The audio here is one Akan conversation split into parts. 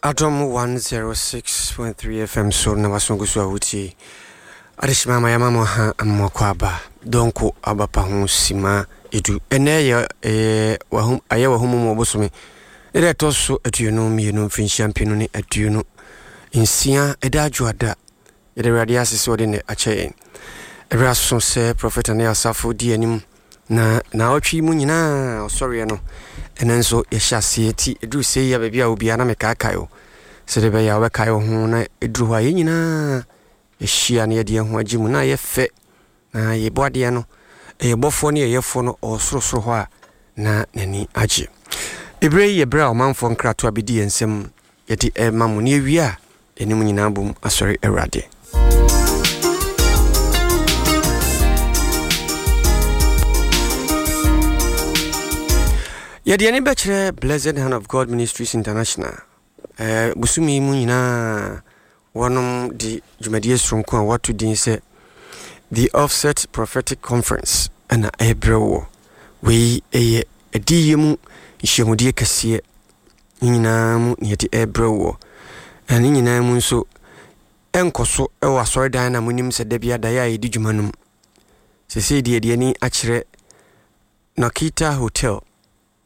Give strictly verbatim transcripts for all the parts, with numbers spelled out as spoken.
Adom one oh six point three F M so na wasongo so a wotie adehyema ama yɛama mo ha mmɔkɔ aba dɔnko abapa ho sima edu. Ɛnɛ yɛ ɛyɛ wahum ayɛ wahum mu ɔbosome ne deɛ ɛtɔ so aduonu mmienu, mfirinhyia mpenu ne aduonu nsia, ɛda adwoada. Yɛde Awurade ase sɛ ɔde ne akyɛ yɛn. Ɛberɛ aso sɛ Prɔfɛt ne asafo di anim na naawɔtwe mu nyinaa ɔsɔreɛ no, ɛno nso yɛhyɛ aseɛ ti. Ɛduru sɛ yi a, baabi a obiara na mekaakae o, sɛdeɛ ɛbɛyɛ a wobɛkae wo ho na ɛduru hɔ a, yɛn nyinaa yɛhyia na yɛde yɛn ho agye mu na yɛ fɛ na yɛbɔ adeɛ no. Ɛyɛ bɔfoɔ ne yɛyɛfoɔ no ɔwɔ sorosoro hɔ a na n'ani agye. Ɛberɛ yi yɛ berɛ a ɔmanfoɔ nkratoa bɛdi yɛn nsam, yɛde ɛma mo ne yɛwie a, yɛne mu nyinaa bom asɔre Awurade. Yɛde ani bɛkyerɛ Blessed Hand of God Ministries International. eh, bosome yi mu nyinaa wɔnom de dwumadie soronko a wɔato din sɛ The Offset Prophetic Conference ɛna ɛrebrɛ wɔ. Wei ɛyɛ adiyie mu nhyiamudie kɛseɛ ne nyinaa mu ne yɛde ɛrebrɛ wɔ. Na ne nyinaa mu nso ɛnkɔ so ɛwɔ asɔredan na monim sɛ da bi adaeɛ a yɛdi dwuma no mu. Sesei deɛ, yɛde ani akyerɛ Nokita Hotel,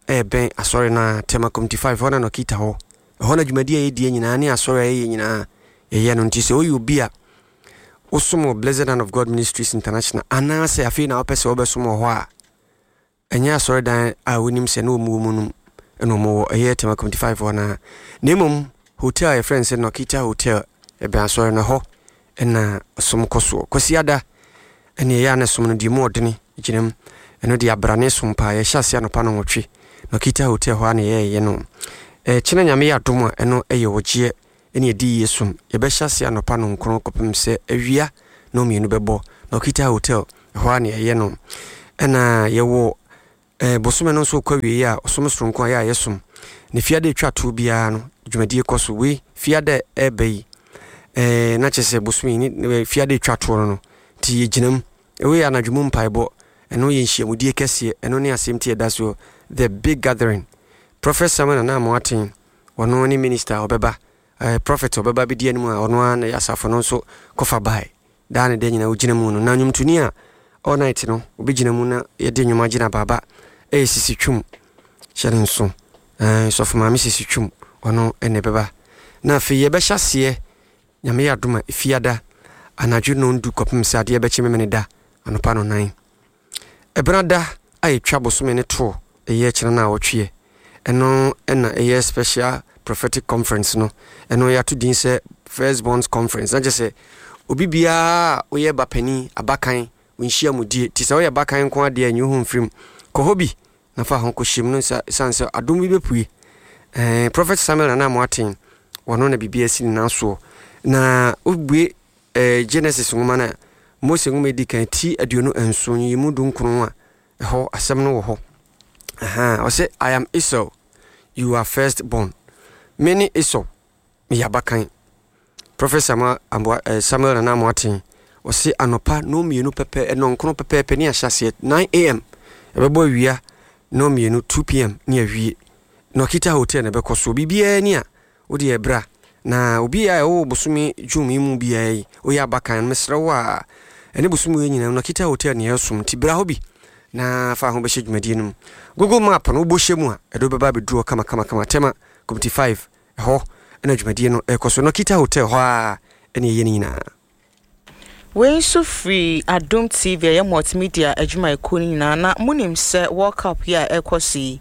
ɛbɛn asɔre no a, Tema Community five hɔ na Nokita hɔ. Ɛhɔ na dwumadi a yɛdie nyinaa ne asɔre a yɛyɛ nyinaa yɛyɛ no. Nti sɛ woyɛ obi a wosom wɔ Blessed Hand of God Ministries International anaasɛ afei na wopɛ sɛ wobɛsom wɔ hɔ a, ɛnyɛ asɔredan a wonim sɛ ne wɔn wɔ mu no ɛna wɔn wɔ, ɛyɛ Tema Community five hɔ naa, na mmom hotel a yɛfrɛ no sɛ Nokita Hotel, ɛbɛn asɔre no hɔ ɛna ɔsom kɔ soɔ. Kwasiada ɛne ɛyɛ a na som no deɛ mu ɔdene gyina mu. Ɛno deɛ, abrane som paa. Yɛhyɛ ase anɔpa no nwɔtwe, Nokita Hotel hɔ a na yɛyɛ no. Ɛkyena Nyame yɛ adom a, ɛno ɛyɛ ɔgyeɛ ɛne ɛdi yie som. Yɛbɛhyɛ ase anɔpa no nkron kɔpem sɛ awia na mmienu bɛbɔ, Nokita Hotel ɛhɔ a na yɛyɛ no. Ɛna yɛwɔ eh, bosome no nso kɔ awie a, ɔsom soronko a yɛ a yɛsom ne fiada atwa toɔ biara no, dwumadie kɔ so. Wei fiada ɛɛba yi, eh, na kyerɛ sɛ bosome yi ne fiada atwa toɔ no no nti yɛgyina mu. Ɛwei yɛ anadwo mu mpaebɔ. Ɛno yɛ nhyiamudie kɛseɛ. Ɛno ne asɛm ti ɛda soɔ, The Big Gathering. Prophet Samuel Nana Amoaten, ɔno ne minister a ɔbɛba, eh, prophet a ɔbɛba bɛdi anim a ɔno ara na asafo no nso kɔfa bae daa ne da nyinaa ɔgyina mu no. Na nnwomtoni a all night no ɔbɛgyina mu na yɛde nnwom agyina baaba ɛyɛ Sisi Twum. Hyɛ no nso, eh, sɔfo maame Sisi Twum, ɔno ɛna ɛbɛba. Na afei yɛbɛhyɛ aseɛ, Nyame yɛ adom a, efiada anadwo nondu kɔpem sɛ adeɛ bɛkye memene da anɔpa no nan. Ɛbenada a yɛtwa bosome ne toɔ, ɛyɛ kyena no a wɔtweɛ, ɛno ɛna ɛyɛ special prophetic conference no. Ɛno yɛato din sɛ First Borns Conference, na kyerɛ sɛ obi biara a woyɛ ba panin, abakan nhyia mu die. Nti sɛ woyɛ bakan nko adeɛ a, nyi wo ho mfirim, kɔ hɔ bi na fa ho kɔhyɛ mu no nsa, ɛsiane sɛ adom bi bɛpue. ɛɛ prophet Samuel Nana Amoaten, ɔno na biribi asi ne nan soɔ. Na wobue ɛɛ Genesis nwoma no a, Mose nwoma edi kan ti aduonu nson yi mu du nkron a, ɛhɔ asɛm no wɔ hɔ. Ɔsɛ, "I am Esau, you are first born." Me ne Esau, meyɛ abakan. Prophet Samuel, Aboa, eh, Samuel Nana Amoaten, ɔse anɔpa nnɔnmienu pɛpɛ, nnɔnkron pɛpɛɛpɛ ne ahyɛ aseɛ, nine a M, ɛbɛbɔ awia nnɔnmienu, two p M ne awie. Nokita Hotel na ɛbɛkɔ so. Biribiara ni a wode ɛbra na obi a ɛwɔ bosome June yi mu biara yi, woyɛ abakan no, mesrɛ wo a, ɛne bosome yi nyinaa Nokita Hotel ne ɛsom, nti bra hɔ bi na fa ho bɛhyɛ dwumadie no mu. Google Map no wobɔ hyɛ mu a, ɛde wobɛba abɛduru hɔ kama. Tema Community five ɛhɔ ɛna dwumadie no ɛkɔ so. Nokita Hotel hɔ a ɛne ɛyɛ no nyinaa. Wei nso firi Adom T V, ɛyɛ multimedia adwumayɛkuo no nyinaa. Na monim sɛ World Cup yi a ɛrekɔ so yi,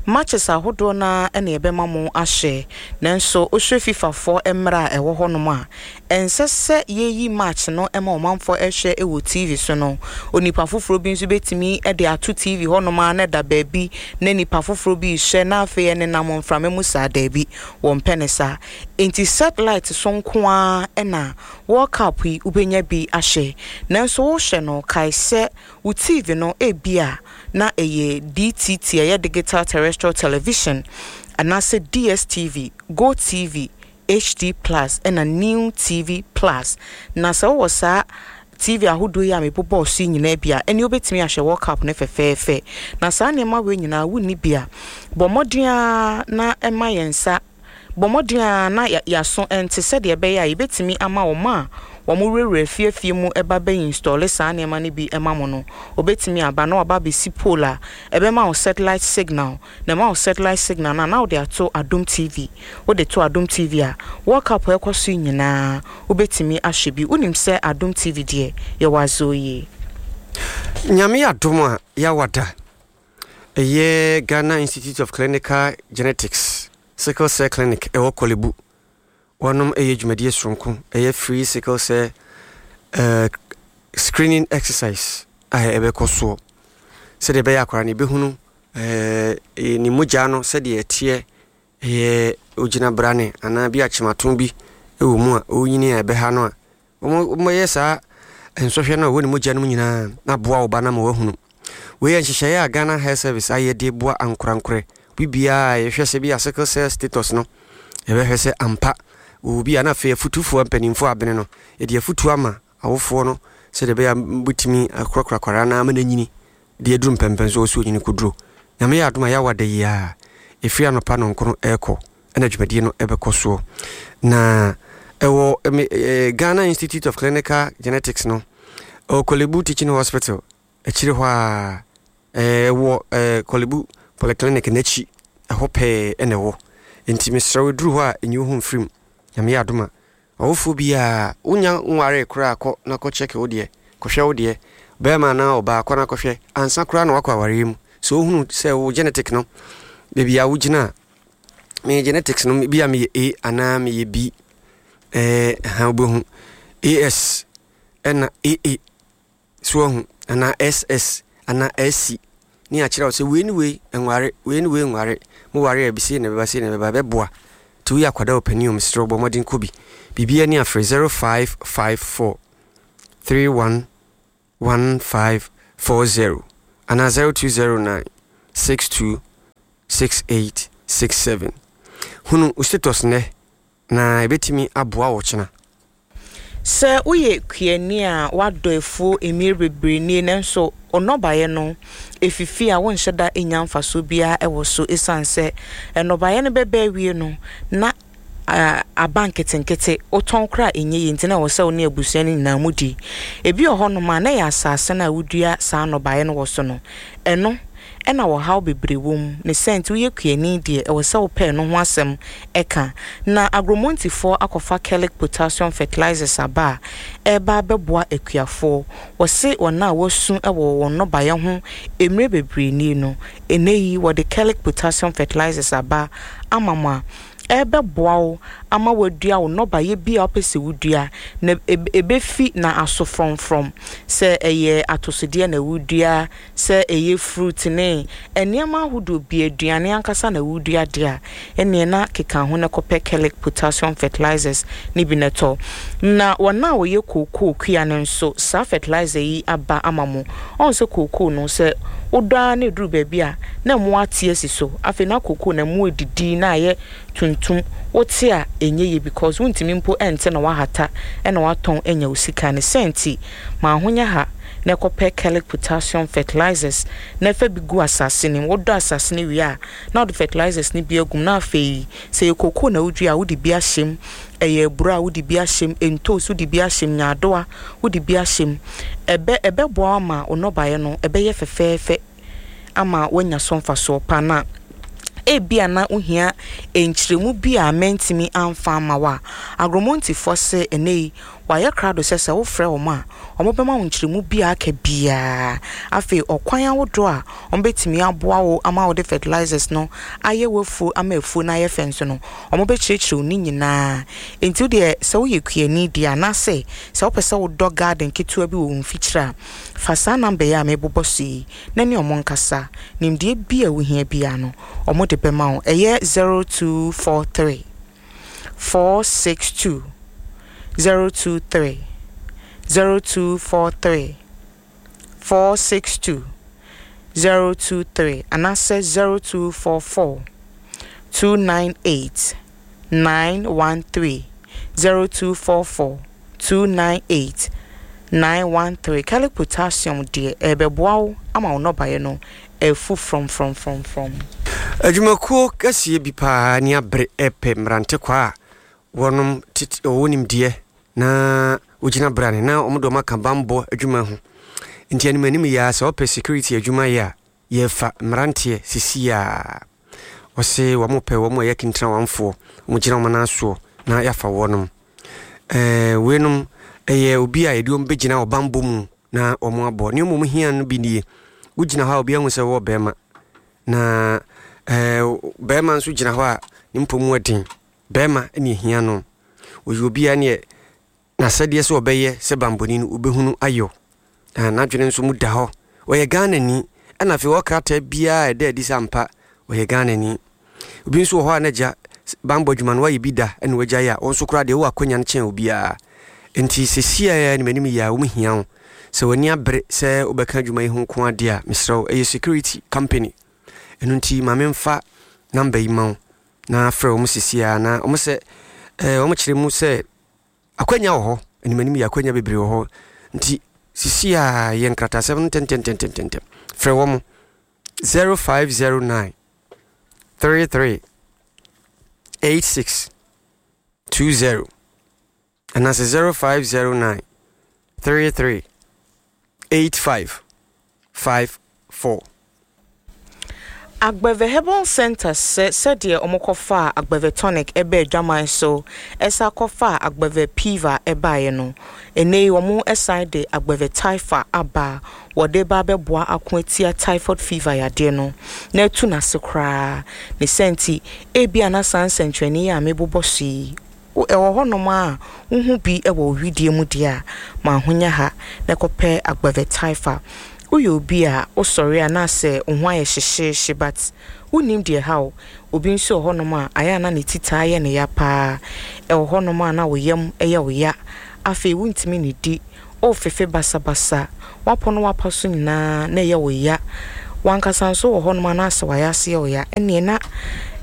matches ahodoɔ no ɛna yɛbɛma mo ahyɛ. Nanso wohwɛ FIFA foɔ mmerɛ a ɛwɔ hɔnom a, ɛnsɛ sɛ yɛyi match no ma ɔmanfoɔ ɛhwɛ wɔ T V so no, onipa foforɔ bi nso bɛtumi de ato T V hɔnom a na ɛda baabi na nipa foforɔ bi rehwɛ na afei ɛnenam mframa mu saa. Daabi, wɔmpɛ ne saa. Nti satellite so nko ara ɛna World Cup yi wobɛnya bi ahyɛ. Nanso wohyɛ no, kae sɛ wo T V no ebi a na ɛyɛ D T T, ɛyɛ digital terrestrial television, anaasɛ D S T V, Go T V H D Plus ɛna New T V Plus. Na sɛ wowɔ saa T V ahodoɔ yi a mebobɔɔ so yi nyinaa bi a, ɛne wobɛtumi ahwɛ World Cup no fɛfɛɛfɛ. Na saa nneɛma wei nyinaa wonni bi a, bɔ mmɔden a na ɛma yɛn nsa Bɔ mmɔden a na yɛaso ɛnte sɛdeɛ ɛbɛyɛ a yɛbɛtumi ama wɔn a wɔn wurawura afiefie mu ɛba bɛ install saa nneɛma no bi ɛma mo no. Obɛtumi aba na waba abɛsi pole a ɛbɛma wo satellite signal, na ɛma wo satellite signal na na wode ato Adom T V. Wode to Adom T V a, World Cup ɛkɔ so nyinaa wobɛtumi ahwɛ bi. Wonim sɛ Adom T V deɛ, yɛwɔ azɔ yie. Nyame adom a, yɛawada ɛyɛ Ghana Institute of Clinical Genetics sickle cell clinic ɛwɔ Korle Bu. Wɔnom ɛyɛ dwumadie soronko, ɛyɛ free sickle cell uh, screening exercise a ɛbɛkɔ soɔ sɛdeɛ ɛbɛyɛ akwara no ɛbɛhunu uh, ne mogya no sɛdeɛ ɛteɛ, ɛyɛ ogyina brane anaa bi akyemato bi ɛwɔ mu a ɔnyini a ɛbɛha no a wɔmmɛyɛ saa nsɔhwɛ no a ɛwɔ ne mogya no mu nyinaa na aboa wo ba no ma wahunu. Wei yɛ nhyehyɛeɛ a Ghana Health Service ayɛ de boa ankorankorɛ biribiaa. Yɛhwɛ sɛ bi a sickle cell status no, yɛbɛhwɛ sɛ ampa wɔwɔ bi a, na afei afotufoɔ mpanimfoɔ abene no, yɛde afotuo ama awofoɔ no sɛdeɛ ɛbɛyɛ a bɛtumi akorakora kwaraa no ama no anyini de aduru mpɛmpɛn so wɔ sɛ ɔnyini kɔduro. Nyame yɛ adom a, yɛawa da yi a ɛfiri anɔpa nɔnkono ɛrekɔ ɛna dwumadie no ɛbɛkɔ soɔ na ɛwɔ eh, Ghana Institute of Clinical Genetics no, ɛwɔ Korle Bu Teaching Hospital akyire hɔ a ɛwɔ eh, Korle Bu Polyclinic n'akyi ɛhɔ pɛɛ ɛna ɛwɔ. Nti mesrɛ wo, duru hɔ a, ɛnyi wo ho mfirim. Nyame yɛ adom a, ɔwofoɔ biaa wonya nware koraa, kɔ na kɔkyɛke wo deɛ, kɔhwɛ wo deɛ, bɛrima anaa ɔbaa, kɔ na kɔhwɛ ansa koraa na wakɔ awareɛ mu. Sɛ wohunu sɛ wo genetic no, baabi a wogyina a, meyɛ genetics no bi a, meyɛ A anaa meyɛ B, ɛɛ ha wobɛhu A S ɛna A A so ahu anaa S S anaa S C ne akyerɛ wo sɛ wei ne wei nware, wei ne wei nware. Mo ware a, bi na ɛbɛba, sei na ɛbɛba, ɛbɛboa. Nti woyɛ akwadaa, ɔpanin o, mesrɛ wo, bɔ mmɔden kɔ bi. Biribia ni afrɛ zero five five four three one one five four zero anaa zero two zero nine six two six eight six seven. Hunu wo status nnɛ na ɛbɛtumi aboa wo kyena. Sɛ woyɛ kuani a wadɔ afuo mmere bebree nie, nanso nnɔbaeɛ no efifi a, wonhyɛ da nya mfasoɔ biara wɔ so, ɛsiane sɛ nnɔbaeɛ no bɛbɛ awie no na aba nketenkete, wotɔn koraa ɛnyɛ yie, nti na ɛwɔ sɛ wo ne abusua no nyinaa mu di. Ebi wɔ hɔnom a, na ɛyɛ asase no a wodua saa nnɔbaeɛ no wɔ so no, ɛno ɛna wɔhaw bebree wɔ mu ne sɛ. Nti woyɛ kuani deɛ, ɛwɔ sɛ wopɛɛ no ho asɛm ɛka. Na Agromontifoɔ akɔfa Kelic Potassium Fertilizers aba a ɛreba abɛboa akuafoɔ. Wɔse wɔn a wɔasu wɔ wɔn nnɔbaeɛ ho mmerɛ bebree nie no, ɛnɛ yi wɔde Kelic Potassium Fertilizers aba ama mo a ɛbɛboa wo ama wadua wo nnɔbaeɛ bi a wopɛ sɛ wodua na ɛbɛfi na aso frɔmfrɔm, sɛ ɛyɛ atosodeɛ na wodua, sɛ ɛyɛ fruit ne nneɛma ahodoɔ bi, aduane ankasa na wodua deɛ a, ɛneɛ na keka ho na kɔpɛ Kelic Potassium Fertilizers ne bi na tɔ. Na wɔn a wɔyɛ kookoo kua no nso, saa fertilizer yi aba ama mo. Ɔn sɛ kookoo no, sɛ wodɔ ara na ɛduru baabi a, na mmoa ate asi so. Afei na kookoo na mmoa didi na ayɛ tuntum, wote a ɛnyɛ yie because wontumi mpo ɛnte na wahata ɛna watɔn anya wo sika ne sɛ. Nti ma ahonya ha na ɛkɔpɛ Kelic Potassium Fertilizers na ɛfɛ bi gu asase no mu. Wodɔ asase no wie a, na wode fertilizers no bi agum, na afei sɛ yɛ kookoo na wodua a, wode bi ahyɛ mu, ɛyɛ aburo a, wode bi ahyɛ mu, ntos, wode bi ahyɛ mu, nyaadoa, wode bi ahyɛ mu, ɛbɛ ɛbɛboa ama wo nnɔbaeɛ no ɛbɛyɛ fɛfɛɛfɛ ama woanya so mfasoɔ pa. Na ebia na wohia nkyerɛmu bi a mɛntumi amfa ama wo a, Agromontifoɔ se ɛnɛ yi wɔayɛ krado sɛ sɛ wofrɛ wɔn a, wɔbɛma wo nkyerɛmu bi a aka biara. Afei ɔkwan ahodoɔ a wɔbɛtumi aboa wo ama wode fertilizers no ayɛ w'afuo ama afuo no ayɛ fɛ nso no, wɔbɛkyerɛkyerɛ wo ne nyinaa. Nti wodeɛ, sɛ woyɛ kuani deɛ, anaasɛ sɛ wopɛ sɛ wodɔ garden ketewa bi wɔ wo mfikyire a, fa saa number yi a mebobɔ so yi na ne ɔmo nkasa. Nimdeɛ bi a wohia biara no, ɔmo de bɛma wo. Ɛyɛ zero two four three four six two zero two three, zero two four three four six two zero two three, anaasɛ zero two four four two nine eight nine one three, zero two four four two nine eight nine one three. Kelic Potassium deɛ, ɛbɛboa wo ama wo nnɔbaeɛ no ɛfu frɔmfrɔmfrɔmfrɔm. Adwumakuo kɛseɛ bi paa ni abere ɛpɛ mmerante kwa a wɔnom tete wɔwɔ nimdeɛ na wogyina brane na wɔn de wɔn aka bambɔ adwuma ho. Nti anim anim yi ara, sɛ wɔpɛ security adwuma yɛ a, yɛfa mmeranteɛ sisi a wɔse wɔn pɛ wɔn a ɛyɛ kintirawanfoɔ, wɔn gyina wɔn nan soɔ na yɛafa wɔnom. Ɛɛ weinom ɛyɛ obi a yɛde wɔn bɛgyina wɔ bambɔ mu na wɔn abɔ. Nneɛma a wɔn hia no bi nie: wogyina hɔ a, obi ahu sɛ wɔwɔ bɛrima, na ɛɛ bɛrima nso gyina hɔ a ne mpɔ mu ɛden. Bɛrima ne ehia no, ɔyɛ obi a neɛ n'asɛdeɛ sɛ ɔbɛyɛ sɛ bambɔni no obɛhunu ayɔ, na n'adwene nso mu da hɔ. Ɔyɛ Ghanani, ɛna afei ɔwɔ krataa biara a ɛda adi sɛ ampa ɔyɛ Ghanani. Obi nso wɔ hɔ a n'agya bambɔ adwuma no wayɛ bi da ɛna wagya yɛ a, wɔn nso koraa deɛ wɔwɔ akonnwa no kyɛn obiara. Nti sɛsi a anim anim yi a wɔn hia wo, sɛ w'ani abere sɛ wobɛka adwuma yi ho nko adeɛ a, mesrɛ wo, ɛyɛ security company. Ɛno nti ma memfa number yi ma wo na frɛ wɔn sisi a na wɔn sɛ ɛɛ wɔn kyerɛ mu sɛ akwanya wɔ hɔ. Anim anim yɛ akwanya bebree wɔ hɔ, nti sisi a yɛ nkratasɛm no ntɛntɛntɛntɛntɛm. Frɛ wɔn zero five zero nine three three eight six two zero anaasɛ zero five zero nine three three eight five five four. Agbeve Herbal Center sɛ sɛdeɛ ɔmokɔfaa Agbeve Tonic ɛbɛɛ adwaman so, ɛsa kɔfaa Agbeve Piva ɛbaeɛ no, ɛnɛ yi wɔn ɛsan de Agbeve Typha aba. Wɔde ba abɛboa ako atia typhoid fever yadeɛ no na atu n'ase koraa. Ne sɛ nti ebia na saa nsɛnkyerɛnne yi a mebobɔ so yi ɛwɔ hɔnom a wohu bi wɔ widie mu deɛ a, ma ahonya ha na kɔpɛ Agbeve Typha. Woyɛ obi a wosɔre a na sɛ wo ho ayɛ hyehyeehye but wonnim deɛ ha wo. Obi nso wɔ hɔnom a ayɛ a na ne ti taa yɛ ne ya paa. Ɛwɔ hɔnom a na wo yam yɛ wo ya, afei wontumi ne di, wofefe basabasa, woapɔ no wapa so nyinaa na ɛyɛ wo ya. Wankasa nso wɔ hɔnom a na asɛ wayɛ ase yɛ wo ya, ɛneɛ na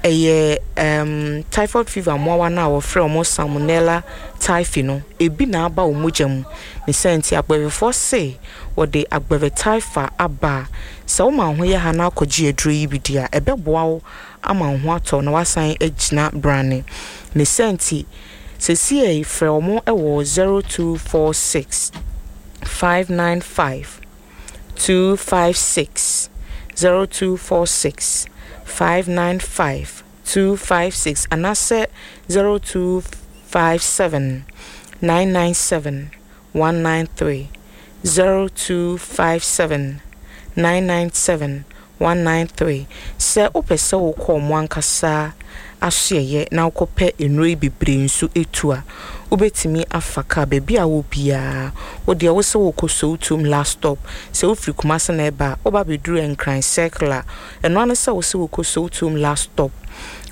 ɛyɛ um, typhoid fever mmoawa no a wɔfrɛ wɔn Salmonella typhi no ebi na aba wɔn mogya mu. Ne sɛ nti agbɛvefoɔ se wɔde Agbeve Typha aba. Sɛ woma wo ho yɛ ha na akɔgye aduro yi bi di a, ɛbɛboa wo ama wo ho atɔ na wasan agyina brane. Ne sɛ nti seesei frɛ wɔn wɔ zero two four six five nine five two five six, zero two four six five nine five two five six anaasɛ zero two five seven nine nine seven one nine three, zero two five seven nine nine seven one nine three. Sɛ wopɛ sɛ wokɔ ɔmo ankasa asoɛyɛ na wokɔpɛ nnuro yi bebree nso etu a, wobɛtumi afa kaa baabi a wɔ biara. Wodeɛ wo sɛ wokɔ Sowutuom Last Stop. Sɛ wofiri Kumase na ɛba a, woba bɛduru Nkran Circle a, ɛno ano sɛ wo sɛ wokɔ Sowutuom Last Stop,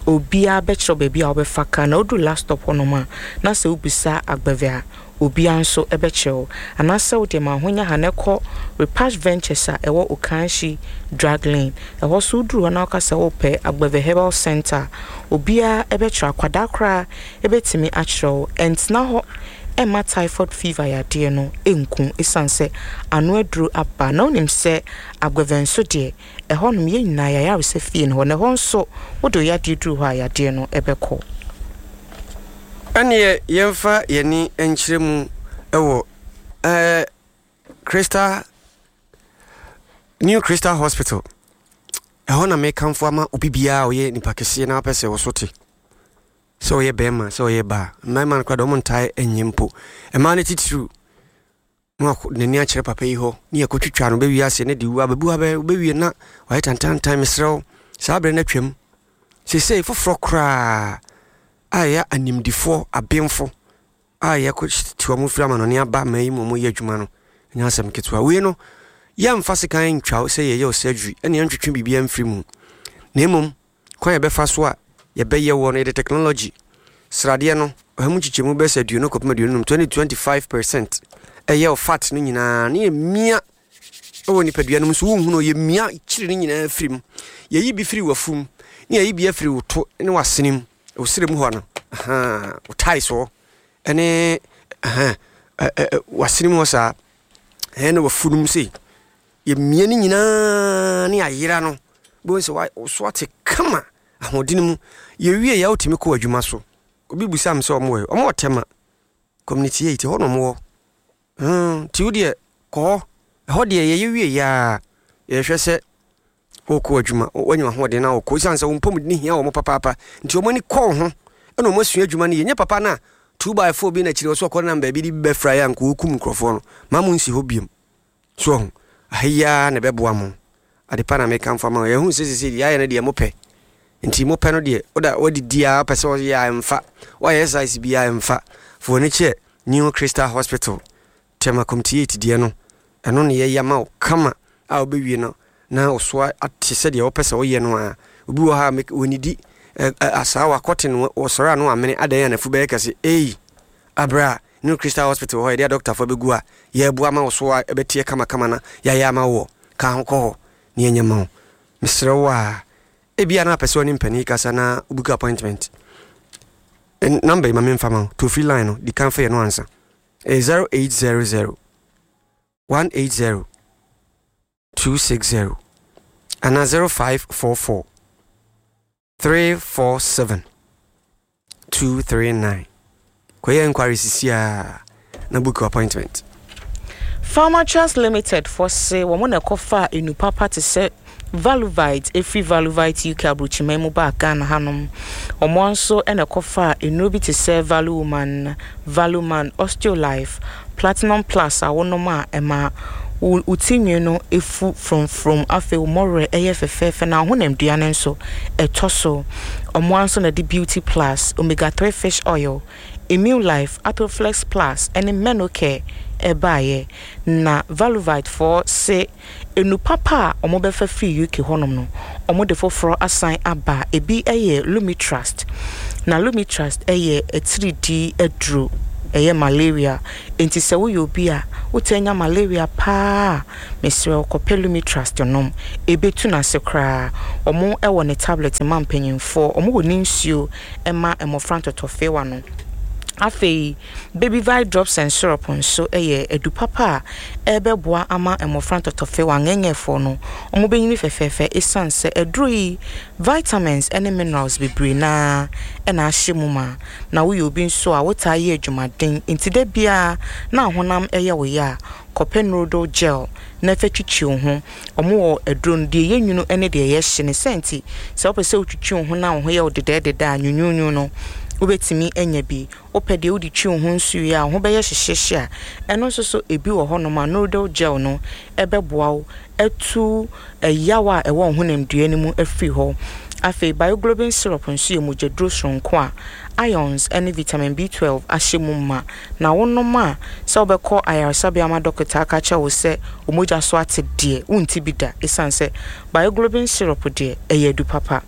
obiara bɛkyerɛ baabi a wobɛfa kaa. Na woduru last stop hɔnom a, na sɛ wobisa Agbeve a, obiara nso bɛkyerɛ wo. Anaasɛ wode ma ahonya ha na ɛkɔ Repash Ventures a ɛwɔ Okanhyi Drug Lane. Ɛhɔ so woduru hɔ na woka sɛ wopɛ Agbeve Herbal Center a, obiara bɛkyerɛ. Akwadaa koraa bɛtumi akyerɛ wo. Ɛntena hɔ ɛmma typhoid fever yadeɛ no nku, ɛsiane sɛ ano aduro aba. Na wonim sɛ Agbeve nso deɛ, ɛhɔnom yɛn nyinaa yɛayaresa fie no hɔ, na ɛhɔ nso wode wo yadeɛ duru hɔ a, yadeɛ no ɛbɛkɔ. Ɛneɛ yɛmfa yɛni nkyerɛ mu ɛwɔ ɛɛ Crystal, New Crystal Hospital. Ɛhɔ na mekamfo ama obi biara a ɔyɛ nipa kɛseɛ na wapɛ sɛ wɔso te, sɛ ɔyɛ bɛrima, sɛ ɔyɛ baa. Mmarima no koraa deɛ, ɔmo ntae ɛnyɛ mpo. Mmaa no titiriw na n'ani akyerɛ papa yi hɔ ne yɛkɔtwitwa no bɛwie ase ne de wu abɛbu abɛ wobɛwie na ɔyɛ tantantan. Mesrɛ wo, saa berɛ no atwam. Seesei foforɔ koraa a ɛyɛ animdifoɔ abenfo a yɛkɔ te wɔn firi amanɔne aba ma yi mu, wɔn yɛ adwuma no nyɛ asɛm ketewa. Wei no, yɛmfa sekan ntwa wo sɛ yɛyɛ wo surgery ɛne yɛntwetwe biribiara mfiri mu, na mmom kwan yɛbɛfa so a yɛbɛyɛ wɔ no, yɛde technology sradeɛ no ɔha mu nkyekyɛmu bɛsɛ aduonu kɔpem aduonu num, twenty twenty five percent ɛyɛ wo fat no nyinaa ne yɛmia ɛwɔ nipadua no mu so. Wonhu no, yɛmia kyiri no nyinaa firi mu. Yɛyi bi firi w'afum ne yɛyi bi afiri wo to ne w'asene mu, wo serɛ mu hɔ no, wo tae soɔ ɛne w'asene mu hɔ saa ɛne w'afu no mu sei. Yɛmia no nyinaa ne ayera no. Wobɛhu sɛ wo so ate kama ahoɔden mu. Yɛwie yɛ wotumi kɔ adwuma so. Obi bisa me sɛ ɔmo wɔ ɔmo wɔ Tema Community eight hɔ na ɔmo wɔ. Hmm, nti wo deɛ kɔ hɔ. Ɛhɔ deɛ yɛyɛ wie yɛ a yɛhwɛ sɛ wokɔ adwuma, wanya ahoɔden na wokɔ. Ɛsiane sɛ wo mpɔmuden hia wɔ mo papaapa nti ɔmo ani kɔ wo ho ɛna ɔmo asua adwuma no yie. Nyɛ papa no a two by four bi na akyire wɔ so ɔkɔ nam baabi de bi bɛfra yɛ a nka wɔkum nkurɔfoɔ no. Ma mo nsi hɔ biom. So ɔho aha yi ara na ɛbɛboa mo. Ade pa na meka mfa ma wo. Yɛhu sɛ sesei deɛ ayɛ no deɛ mopɛ. Nti mopɛ no deɛ woda wadidi a wopɛ sɛ ɔyɛ a ɛmfa. Woayɛ exercise biara ɛmfa. Fa w'ani kyerɛ New Crystal Hospital, Tema Community eight deɛ no. Ɛno na yɛyɛ ama wo kama a wobɛwie no na wo so ate sɛdeɛ wopɛ sɛ woyɛ no a. Obi wɔ ha a wɔnidi asaawa kɔte no wɔsɔre a no amene adan a n'afu bɛyɛ kɛse. Ei! Aberɛ a New Crystal Hospital hɔ yɛde adɔktafoɔ bɛgu a yɛreboa ma wo so a ɛbɛteɛ kamakama na yɛayɛ ama wo wɔ ka ho kɔ hɔ na yɛnyɛ ma wo. Mesrɛ wo a ebia na apɛ sɛ ɔne mpanin kasa na wo book appointment. Number yi ma memfa ma wo. Toll free line no di kan fa yɛ no ansa. Ɛyɛ zero eight zero zero one eight zero two six zero anaa zero five four four three four seven two three nine. Kɔyɛ inquiry sisi a na book appointment. Pharmatrust Limited foɔ se wɔn na ɛkɔfaa enu papa te sɛ Valuvite ɛfiri Valuvite U K aburokyiman mu baa Ghana hanom. Wɔn nso na ɛkɔfaa nnuro bi te sɛ Valuwoman, Valuman, Osteolife, Platinum Plus a wonom a ɛma wo wo ti nwi no fu frɔmfrɔm, afei wo mmɔwerɛ yɛ fɛfɛɛfɛ na wo honamdua no nso ɛtɔ so. Wɔn ara nso na ɛde Beauty Plus, Omega three Fish Oil, Immune Life, Athoflex Plus ne Menocare baeɛ. Na Valuvite foɔ se Nnuru papa a wɔbɛfa firi U K hɔnom no, wɔde foforɔ asan aba. Ebi yɛ Lumitrust. Na Lumitrust yɛ atiridii aduro, ɛyɛ malaria. Enti sɛ woyɛ obi a wotaa nya malaria pa ara a, mesrɛ wo kɔpɛ Lumitrust nom. Ɛbɛtu no ase koraa. Wɔwɔ ne tablet ma mpanimfoɔ, wɔwɔ ne nsuo ma mmɔfra ntɔtɔfewa no. Afei, Babyvite Drops and Syrup nso yɛ adu papa a ɛbɛboa ama mmɔfra ntɔtɔfewa, ngɛngɛfoɔ no, wɔbɛnyini fɛfɛɛfɛ ɛsiane sɛ aduro yi vitamins ne minerals bebree no ara na ahyɛ mu ma. Na woyɛ obi nso a wotaa yɛ adwumaden nti da biara na honam yɛ wo ya a, kɔpɛ Noodle Gel na fa twitwi wo ho. Wɔwɔ aduro no, deɛ ɛyɛ nwunu ne deɛ ɛyɛ hye. Ne saa nti, sɛ wopɛ sɛ wotwitwi wo ho na wo ho yɛ wo dedɛɛdedɛ a, nwunwunwunu no, wobɛtumi anya bi. Wopɛ deɛ wode twi wo ho nso wie a, wo ho bɛyɛ hyehyeehye a, ɛno nso so ebi wɔ hɔnom a Noodle Gel no bɛboa wo atu ɛyaw a ɛwɔ wo honamdua no mu afiri hɔ. Afei, Bioglobin syrup nso yɛ mogyaduro soronko a irons ne vitamin B twelve ahyɛ mu ma, na wonom a, sɛ wobɛkɔ ayaresabea ma dɔkota aka akyerɛ wo sɛ wo mogya so ate deɛ, wonte bi da esiane sɛ Bioglobin syrup deɛ, ɛyɛ adu papa.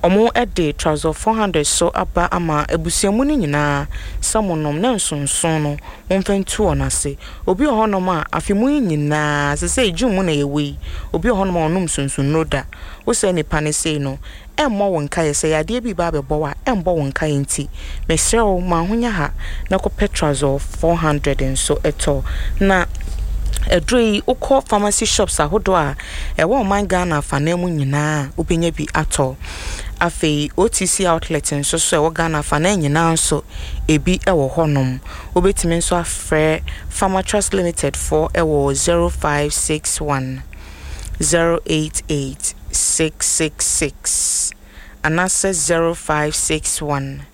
Wɔde Trazol four hundred so aba ama abusua mu no nyinaa sɛ monom na nsonson no momfa ntu wɔn ase. Obi wɔ hɔnom a, afe mu yi nyinaa, seesei June mu na yɛwɔ yi, obi wɔ hɔnom a ɔnnom nsonsonnuro da. Wo saa nipa no sei no, ɛmmɔ wo nkaeɛ. Sɛ yadeɛ bi reba abɛbɔ wo a, ɛmmɔ wo nkaeɛ nti, mesrɛ wo ma ahonya ha na kɔpɛ Trazol four hundred nso tɔ. Na aduro yi, wokɔ pharmacy shops ahodoɔ a ɛwɔ ɔman Ghana afanan mu nyinaa a, wobɛnya bi atɔ. Afei O T C outlet nso so ɛwɔ Ghana afanan nyinaa nso, ebi wɔ hɔnom. Wobɛtumi nso afrɛ Pharmatrust Limited foɔ wɔ zero five six one zero eight eight six six six anaasɛ zero five six one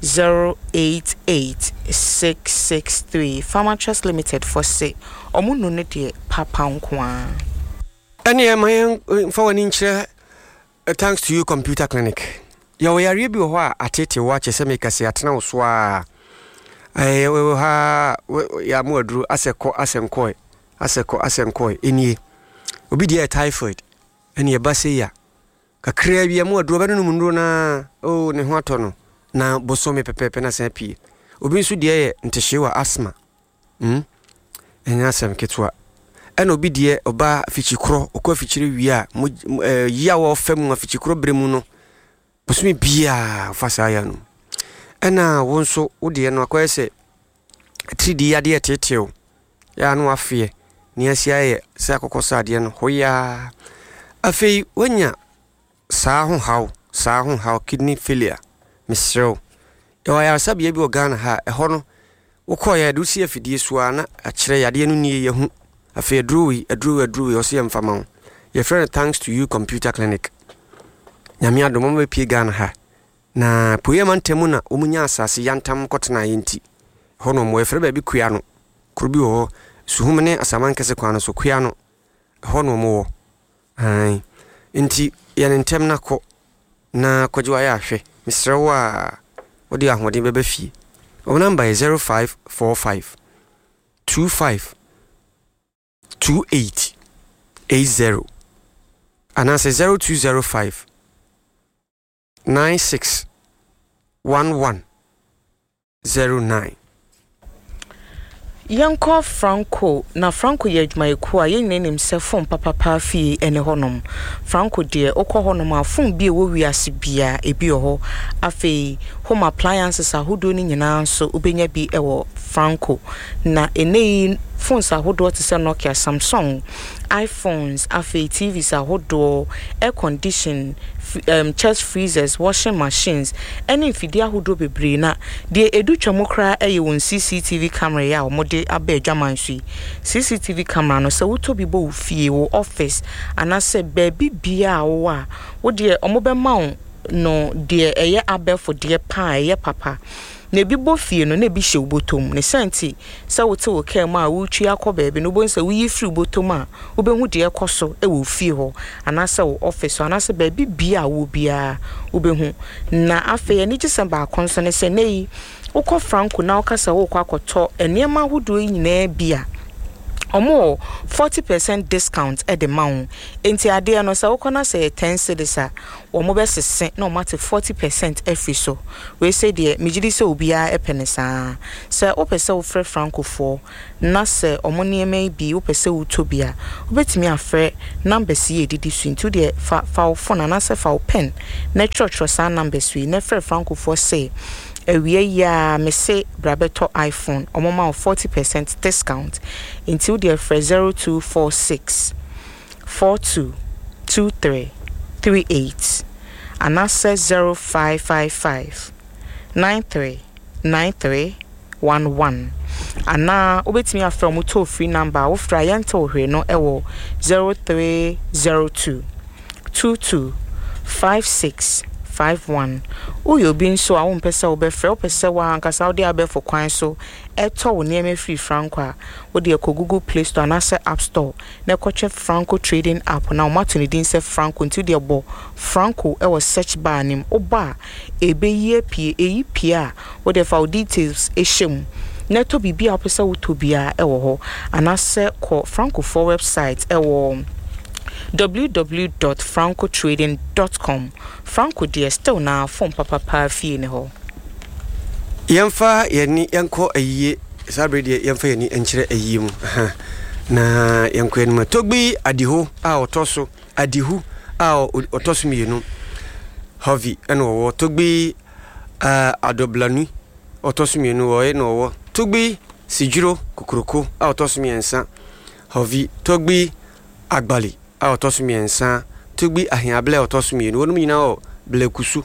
zero eight eight six six three. Pharmatrust Limited foɔ se ɔmo nu no deɛ papa nko ara. Ɛneɛ ma yɛn mfa w'ani nkyerɛ Thanks to You Computer Clinic. Yɛwɔ yareɛ bi wɔ hɔ a ateetee wo akyɛ sɛ meka sɛ atena wo so a ɛyɛ wɔ ha yɛamo aduro asɛ kɔ asɛ nkɔe asɛ kɔ asɛ nkɔe ɛnie. Obi deɛ yɛ typhoid ɛne ɛba sei a kakraa bi ɛmo aduro ɔbɛnonom nnuro na oh ne ho atɔ no na bosome pɛpɛɛpɛ na san pie. Obi nso deɛ yɛ ntehyewa asthma. Hmm? Ɛnyɛ asɛm ketewa. Ɛna obi deɛ ɔba afikyikorɔ, ɔkɔ afikyire wie a, mo, eh, yaw a ɔfa mu afikyikorɔ berɛ mu no, bosome biara ɔfa saa yaw no mu. Ɛna wo nso, wo deɛ no akɔyɛ sɛ atiridii yadeɛ ɛteetew, yɛ a na wafeɛ, ne asi ayɛ sɛ akokɔ sradeɛ no, hoyaa. Afei, woanya Saa ho haw, saa ho haw, kidney failure, mesrɛ wo. Yɛwɔ ayaresabea bi wɔ Ghana ha a, ɛhɔ no, wokɔeɛ a, yɛde wo si afidie so ara na akyerɛ yadeɛ no nie, yɛahu. Afei aduro wei, aduro wei, aduro wei, ɔse yɛmfa ma wo. Yɛfrɛ no Thanks to You Computer Clinic. Nyame adom, wɔn bɛpie Ghana ha. Na Apueeɛ mantam mu na wɔn nya asase yantam kɔtenaeɛ nti, ɛhɔ na wɔn wɔ. Yɛfrɛ baabi Kuano. Kuro bi wɔ hɔ, Suhum ne Asamankɛse kwan no so, Kuano. Ɛhɔ na wɔn wɔ. Aane. Nti yɛ no ntɛm na kɔ na kɔgye w'ayarehwɛ. Mesrɛ wo a, wode ahoɔden bɛba fie. Wɔn namba yɛ zero five four five two five two eight eight zero anaasɛ zero two zero five nine six one one zero nine. Yɛnkɔ Franco, na Franco yɛ adwumayɛkuo a yɛn nyinaa nim sɛ fon papapaa fie ne hɔnom. Franco deɛ wokɔ hɔnom a fon bi a ɛwɔ wiase biara ebi wɔ hɔ. Afei home appliances ahodoɔ no nyinaa nso wobɛnya bi wɔ Franco. Na ɛnnɛ yi phones ahodoɔ te sɛ Nokia, Samsung, iPhones, afei T Vs ahodoɔ, air condition, um, chest freezers, washing machines, ɛne mfidie ahodoɔ bebree. Na deɛ ɛdu twa mu koraa ɛyɛ wɔn C C T V camera yi a wɔde aba adwaman so yi. C C T V camera no, sɛ wotɔ bi bɔ wo fie, wo office, anaasɛ baabi biara a wowɔ a, wo deɛ wɔbɛma wo no deɛ ɛyɛ abɛɛfo deɛ paa, ɛyɛ papa. Na ebi bɔ fie no, na ebi hyɛ wo bɔtɔ mu. Ne saa nti, sɛ wote wo kaa mu a woretwi akɔ baabi no, wobɛhu sɛ woyi firi wo bɔtɔ mu a, wobɛhu deɛ ɛkɔ so wɔ wo fie hɔ, anaasɛ wo office hɔ, anaasɛ baabi biara a wowɔ biara, wobɛhu. Na afei, anigyesɛm baako nso ne sɛ, nnɛ yi, wokɔ Franco na woka sɛ worekɔ akɔtɔ nneɛma ahodoɔ yi nyinaa bi a, wɔn wɔ forty percent discount de ma wo. Enti adeɛ no, sɛ wokɔ na sɛ ɛyɛ ten cedis a, wɔn bɛsese na wɔn ate forty percent afiri so. Wei sɛ deɛ, megye di sɛ obiara pɛ ne saa. Sɛ wopɛ sɛ wofrɛ Francofoɔ na sɛ wɔn nneɛma yi bi wopɛ sɛ wotɔ bi a, wobɛtumi afrɛ numbers yi a ɛdidi so yi. Nti wodeɛ fa, fa wo phone anaasɛ fa wo pen na twerɛtwerɛ saa numbers yi na frɛ Francofoɔ sɛ awia yi a mese bra bɛtɔ iPhone, wɔn ma wo forty percent discount. Nti wodeɛ frɛ zero two four six four two two three three eight anaasɛ zero five five five nine three nine three one one anaa wobɛtumi afrɛ wɔn toll free number a wofrɛ a yɛnte wo hwee no wɔ zero three zero two two two five six five one. Woyɛ obi nso a wompɛ sɛ wobɛfrɛ, wopɛ sɛ woankasa wode abɛɛfo kwan so ɛtɔ wo nneɛma firi Franco a, wode ɛkɔ Google Play Store anaasɛ App Store na ɛkɔtwɛ Franco Trading App na wɔato ne din sɛ Franco, nti wode ɛbɔ Franco ɛwɔ search bar no mu. Wobɔ a, ɛbɛyi apue. Ɛyi pue a, wode fa wo details ɛhyɛ mu na ɛtɔ biribi a wopɛ sɛ wotɔ biara ɛwɔ hɔ, anaasɛ kɔ Francofoɔ website ɛwɔ w w w dot franco trading dot com. Franco deɛ still na phone papapa fie ne hɔ. Yɛmfa yɛni yɛnkɔ ayie saa bere deɛ yɛmfa yɛni nkyerɛ ayie mu. Aha. Na yɛnkɔ anim. Togbi Adiho a ɔtɔ so Adihu a ɔtɔ so mmienu. Harvey ɛna ɔwɔ Togbi, uh, Adoblanu ɔtɔ so mmienu ɔyɛ na ɔwɔ Togbi Sijiro Kokoroko a ɔtɔ so mmiɛnsa. Harvey Togbi Agbali a ɔtɔ so mmiɛnsa. Togbi Ahiable a ɔtɔ so mmienu. Wɔn nyinaa wɔ Blekusu.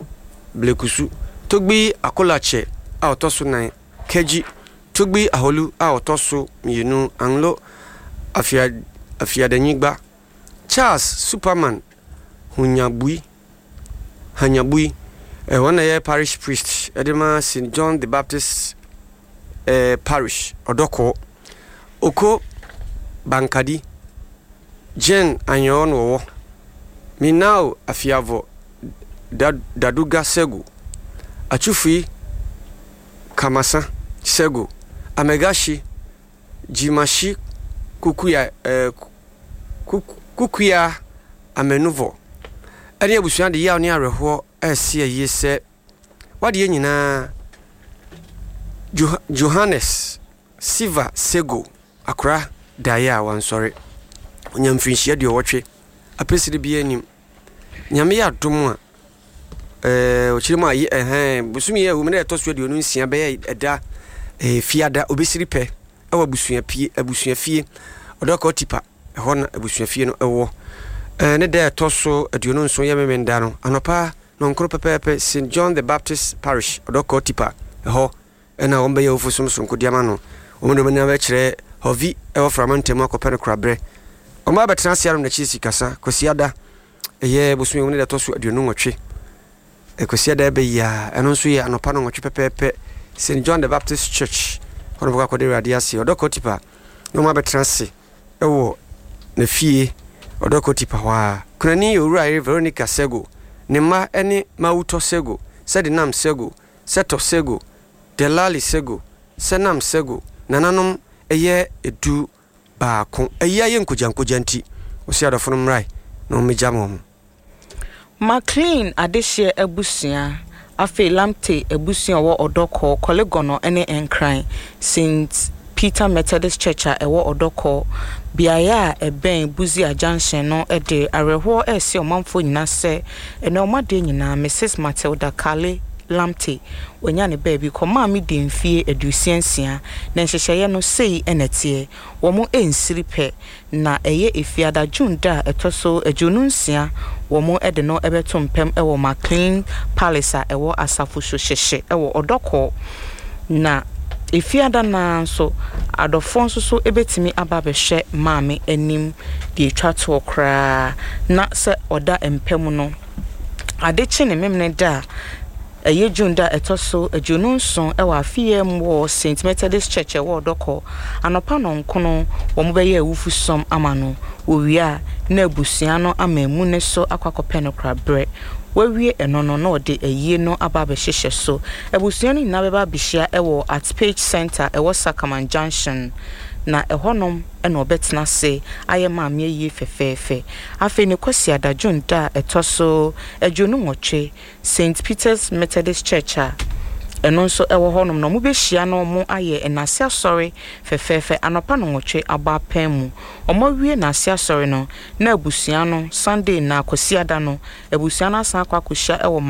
Blekusu. Togbi Akolakyɛ a ɔtɔ so nan. Kegyi. Togbi Aholu a ɔtɔ so mmienu. Anglo Afia, Afiadanyigba. Charles Superman Hunyabui. Hanyabui. Eh, wɔn na yɛ parish priest ɛde ma Saint John the Baptist eh, Parish Ɔdɔkɔɔ. Oko Bankadi. Jen Anyɔɔ na ɔwɔ. Minao Afiavɔ Daduga Sego. Achufui Kamasa Sego. Amegashi Jimashi Kukuya, eh, Kukuya Amenuvɔ. Ɛne abusua de yaw ne awerɛhoɔ ɛresi ayie sɛ wadeɛ nyinaa Johannes Siva Sego akora daeɛ a wansɔre. Ɔnya mfirinhyia aduɔwɔtwe apɛsire biara anim. Nyame yɛ adom a, eh, ɔkyerɛ mu a, ɛhɛn, bosome yi a ɛwɔ mu na ɛtɔ so aduonu nsia bɛyɛ ɛda, eh, fiada, obɛsiri pɛ ɛwɔ abusua pie, abusua fie, ɔdɔkɔ tipa, ɛhɔ na abusua fie no ɛwɔ. Ne da a ɛtɔ so aduonu nson yɛ Memenda no anɔpa nɔnkoro pɛpɛɛpɛ, Saint John the Baptist Parish, Ɔdɔkɔɔ Tipa, ɛhɔ na wɔbɛyɛ awufo som soronko de ama no. Wɔn de wɔn ani bɛkyerɛ Hɔvi wɔ Frama ntam akɔpɛ no koraberɛ. Wɔn abɛtena ase anom n'akyi sikasa Kwasiada, ɛyɛ bosome mu ne da ɛtɔ so aduonu nwɔtwe. Kwasiada ɛbɛ yi a, ɛno nso yɛ anɔpa nɔnwɔtwe pɛpɛɛpɛ, Saint John the Baptist Church, hɔ na wɔbɛkɔ akɔda Awurade ase. Ɔdɔkɔɔ Tipa na wɔn abɛtena ase wɔ ne fie Ɔdɔkɔ Tipa hɔ ara. Kunani yɛ Owura yere Veronica Sego. Ne mma ne Mawutɔ Sego, Sedinam Sego, Setɔ Sego, Delali Sego, Senam Sego. Nananom yɛ du baako. Ayi ayɛ nkogyankogya nti, ɔse adɔfo no mmrae na wɔmmɛgyam wɔn. McLean adehyeɛ abusua, afei Lamptey abusua a ɛwɔ Ɔdɔkɔɔ, Korle-Gonno ne Nkran, Saint Peter Methodist Church a ɛwɔ Ɔdɔkɔɔ, beaeɛ a ɛbɛn Busia Junction no de awerɛhoɔ rese ɔmanfoɔ nyinaa sɛ ɛnnɛ wɔn adeɛ nyinaa Misis Matilda Kale Lamptey wanya ne baabi kɔ. Maame dii mfeɛ aduosia nsia, na nhyehyɛeɛ no sei na ɛteɛ, wɔn nsiri pɛ, na ɛyɛ Efiada, June da a ɛtɔ so aduonu nsia, wɔn de no bɛto mpam wɔ McLean Palace a ɛwɔ Asafo Sohyehye wɔ Ɔdɔkɔɔ. Na Efiada no ara nso, adɔfoɔ nso so bɛtumi aba abɛhwɛ maame anim deɛ ɛtwa toɔ koraa, na sɛ ɔda mpa mu no, ade kye ne memene da a ɛyɛ June da a ɛtɔ so aduonu nson wɔ afe yi mu wɔ Saint Methodist Church ɛwɔ Ɔdɔkɔ, anɔpa nɔnkono wɔn bɛyɛ awufosɔm ama no. Wɔwie a, na abusua no ama emu ne so akɔ akɔpɛ no koraberɛ. Wɔawie ɛno no, na ɔde ayie no aba abɛhyehyɛ so. Abusua no nyinaa bɛba abɛhyia wɔ At Page Center ɛwɔ Sakaman Junction, na ɛhɔnom na ɔbɛtena ase ayɛ maame ayie fɛfɛɛfɛ. Afei ne Kwasiada, June da a ɛtɔ so aduonu nwɔtwe, Saint Peter's Methodist Church a ɛno nso ɛwɔ hɔnom na wɔbɛhyia na wɔn ayɛ nnase asɔre fɛfɛɛfɛ anɔpa nɔnwɔtwe abɔ apɛn mu. Wɔn awie nnase asɔre no, na abusua no Sunday na Kwasiada no, abusua no asan akɔ akɔhyia wɔ